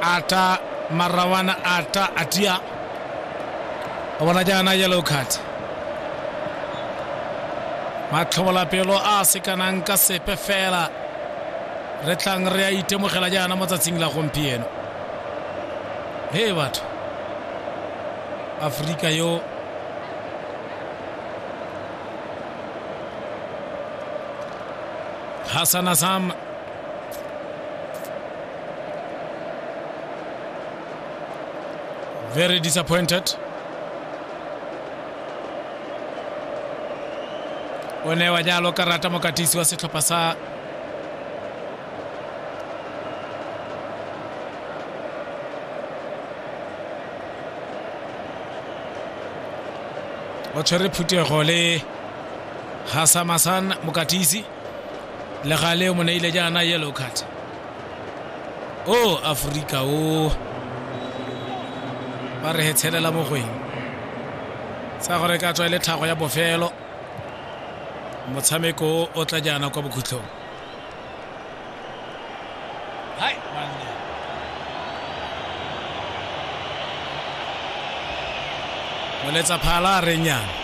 Ata Marawana Ata Atia o bona jaana yellow card. Matlhobolapelo a se kanang ka sepe fela re tlang re a itemogela jaana mo tsatsing la gompieno. He batho, Aforika yo Hassan Azam very disappointed. O newa jalo karata mokatisi wa setlhopha sa o tshwere phuthego le Hasamasan mokatisi le gale o mo neile jaana yellow card. O Aforika o ba re hetshelela mogweng sa gore ka tswa e le tlhago ya bofelo motshameko o tla jaana kwa bokhutlhong. Hai banna. Moletsa phala a reng yana.